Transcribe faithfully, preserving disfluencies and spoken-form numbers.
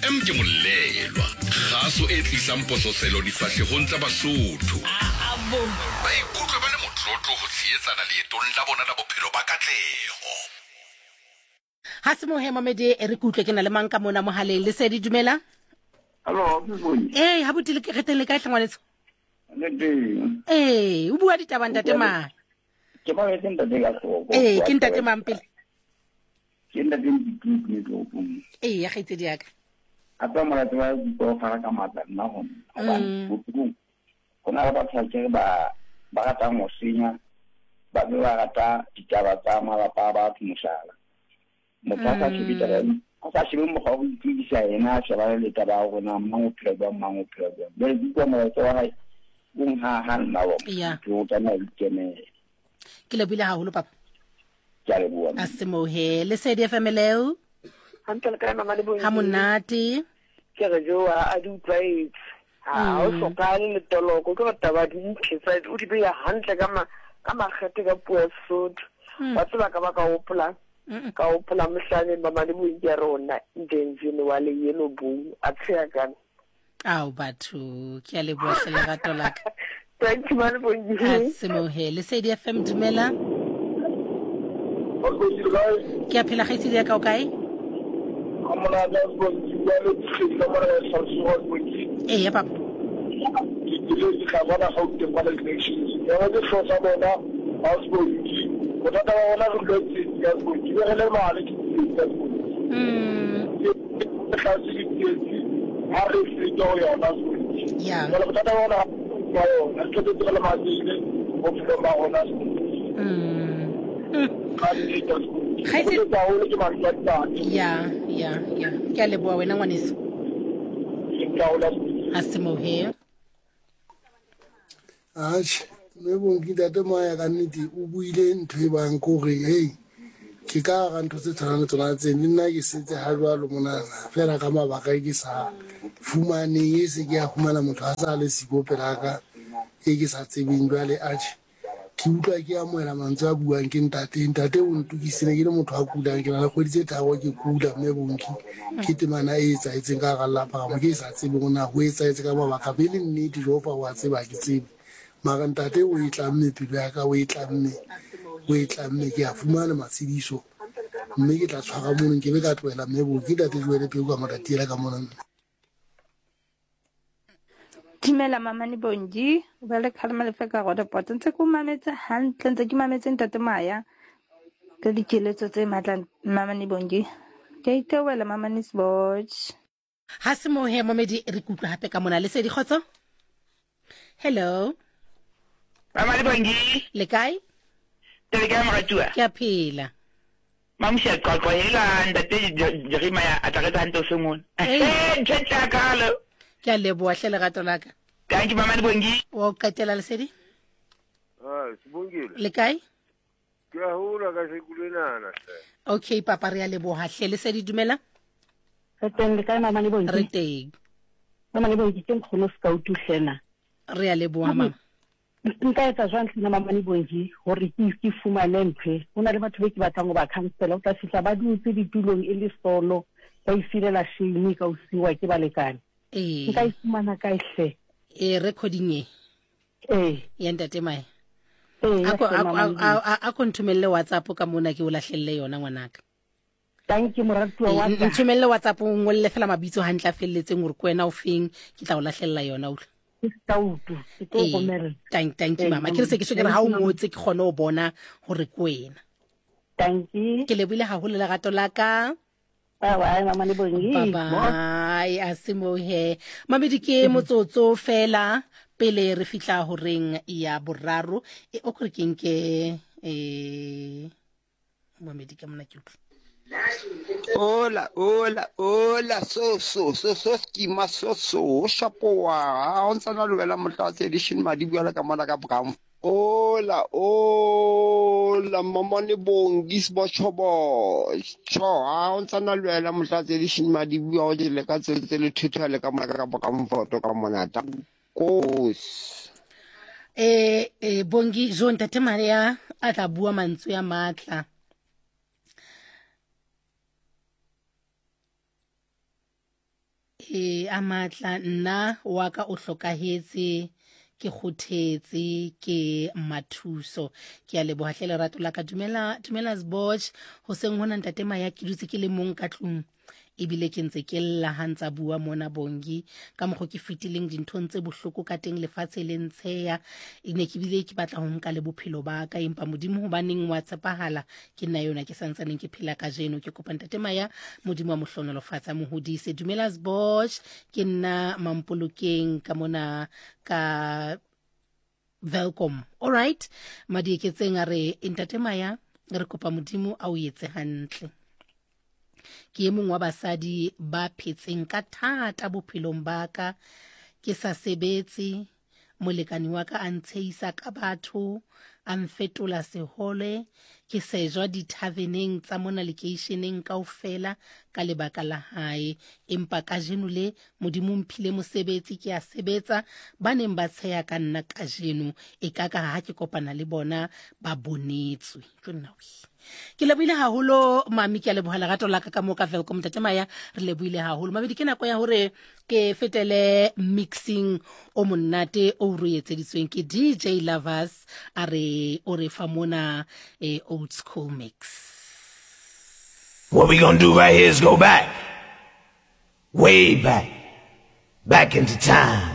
F M ke molelwa kgaso e tlisang pososelo difahlehong tsa Basotho. Ba ikutlwe ba le motlotlo ho tshehetsana leetong la bona la bophelo ba katleho. Ha se mohe mamedi, e re ke utlwe ke na le mang ka mona mohaleng. Lesedi, dumela. Hello, Sibongi. Ee, ha botile re teng, le kae hlangwanetso? Le teng. Ee, o bua ditaba, ntate mang? Ke mametse ntate ka hloko. Ee, ke ntate mang pele? Ke ntate Ntitutu ne toropong. Ee, ya kgaitsedi ya ka. A tswa molato wa kutlwa o fara ka matla nna ho nna. Hobane Mm. bophelong ho na le batho ba kere ba ba ratang ho senya, ba be ba rata ditaba tsa malapa a batho, mohlala. Motho a sa shebe taba Mm. a sa shebe mokgwa wa ho iphedisa, yena a shebane le taba ya hore na mang o phela jwang, mang o phela jwang. Jwale ke utlwa molaetsa wa hae o nhaha nna wa Ya. motho o tlameha ho ikemela. Ke lebohile haholo, papa. Ke a leboha. A se mohe. Lesedi F M leo. Hantle, le kae, mama le Bongi? Ha monate. Ke re joa a di utlwaetse, ha o Mm. hlokahale le toloko, ke gore taba di ntle tsa o di beya hantle ka ma ka makgethe ka puo ya Sesotho. Mm. Wa tseba ka ba ka hopola Mm-mm. ka hopola mohlaneng mama le Bongi ya rona ndenzini wa le yeno bou a tsheya kana. Ao batho, ke a leboha hle, lerato la ka. Thank you, mama le Bongi. A se mohe. Lesedi F M, dumela. Ke a phela, kgaitsedi ya ka, o kae? Ee ya papa. Bothata ba bona re dula tsietsi ka sekolo, be re lebale ke tsietsi ka sekolo. Mm. Tlase ke tsietsi ha re feta ho yona sekolo. Ya. Jwale bothata ba bona ba yona re qetetse re lematsehile bophelong ba rona sekolo. Mm. Mm. Ka nnete sekolo Kgaitsedi- ke haholo ke mantswe a ntate. Ya ya ya, ke a leboha wena, ngwaneso. Ke ntaola sekolo. A se mohe. Atjhe, mme Bonki, ntate Moya ka nnete o buile ntho e bang ke hore hei, ke ka hara ntho tse tshwanang le tsona tse le nna ke setse ha jwalo monana fela ka mabaka e ke sa fumaneng, e se ke ya fumana motho a sa le siko pelaka e ke sa tsebeng. Jwale atjhe, ke utlwa ke amohela mantswe a buang ke ntate. Ntate o ntokisile ke le motho a kulang, ke na le kgwedi tse tharo ke kula, mme Bonki. Ke temana e etsahetseng ka hara lelapa ka mo ke e sa tsebeng hore na ho etsahetse ka mabaka be le nnete. Jehova wa tseba, ha ke tsebe, mara ntate o e tlamme pelo ya ka, o e tlamme, o e tlamme. Ke a fumana matshediso mme ke tla tshwara mono, nke be ka tlohela, mme Bonki. Ntate Joele peo ka moratiela ka mona. Dumela, mamane Bongi, o ba le kgalema lefe ka Roodepoort. Ntse ke o mametse hantle, ntse ke mametse ntate Maya ka dikeletso tse matla, mamane Bongi. Ke a itebohela, mamane Sboch. Ha se mohe momedi, re kutlwa hape ka mona. Lesedi, kgotso, hello. Mama le Bongi. Le kae? Tele kae, moratuwa? Ke a phela. Mamushi qwaqwa hela ntate Jeremia a tla re hantle o sengone. Ee. Eh, ntho e tla kalo. Ke a leboha hle, lerato la ka. Thank you, mama le Bongi. Wa o qetela, Lesedi. Ah, Sibongile. Le kae? Ke a hola ka sekulenana hle. Okay papa, re a leboha hle. Lesedi, dumela. Re teng, le kae, mama le Bongi? Re teng. Mama le Bongi, ke nkgono Sekautu hlena. Re a leboha, mama. Nka etsa jwang hlena, mama le Bongi, hore ke ke fumane ntho e? Ho na le batho be ke batlang ho ba counsela, o tla fihla ba dutse ditulong e le solo, ba ifilela shame ka ho siwa ke balekane. Ee. Nka e fumana kae hle? E recording e? Ee. Ya ntate Mae? Ee, a ko hle, a mama le a- a- a ko nthomelle WhatsApp ka mona, ke o lahlelle yona, ngwanaka. Thank you, moratuwa wa Ee, ka. Nthomelle WhatsApp, o ngolle fela mabitso hantle a felletseng hore ke wena o feng, ke tla o lahlella yona, utlwa. Ke Sekautu, ke tlo Ee, romella. thank thank you Ee, mama. Ke re se ke so ke re ha o ngotse ke kgone ho bona hore ke wena. Thank you. Ke lebohile haholo, lerato la ka. Bye bye, mama le Bongi. Bye bye. A se mohe mamedi, ke motsotso fela pele re fihla horeng ya boraro e o kore ke nke eh mamedi ka mona ke utlwe. Hola, hola, hola, so so so so skima so so shapoa. Ha o ntsana le wena motlatse edition madi bua ka mona ka brown. Hola, hola, mamane Bongi sbochobo. Cho, ha o ntsana le wena motlatse edition madi bua o le ka tse le thutha le ka mona ka brown foto ka mona. Kos. eh eh Bongi jo, ntate Maria a tla bua mantswe ya matla. E a matla nna wa ka o hlokahetse ke kgothetse ke Mathuso. Ke a leboha hle lerato la ka. Dumela dumela Sboch, hoseng hona ntate Maya ke dutse ke le mong ka tlung ebile ke ntse ke lla ha ntsa bua mona Bongi ka mokgo ke fetileng dinthong tse bohloko ka teng lefatshe le ntsheya e ne ke bile ke batla ho nka le bophelo ba ka empa Modimo hobaneng wa tshepahala ke nna yona ke santsaneng ke phela kajeno. Ke kopa ntate Maya Modimo wa mohlonolofatsa mo hodise. Dumela Sboch, ke nna Mampolokeng ka mona ka Welcome. All right, Madieketseng a re ntate Maya re kopa Modimo a o etse hantle. Ke e mong wa basadi ba phetseng ka thata bophelong ba ka, ke sa sebetse, molekane wa ka a ntsheisa ka batho, a mfetola sehole, ke sejwa dithaveneng tsa mona lekeisheneng kaofela ka lebaka la hae. Empa kajeno le Modimo mphile mosebetsi, ke a sebetsa, ba neng ba tsheya ka nna kajeno e ka ka ha ke kopana le bona ba bonetswe. Ke nna we. Ke lebohile haholo mami, ke a leboha lerato la ka ka moo ka Welcome ntate Maya, re lebohile haholo. Mabedi ke nako ya hore ke fetele mixing o monate o re etseditsweng ke D J Lovers, a re o re fa mona eh, old school mix. What we gonna do right here is go back, way back, back into time.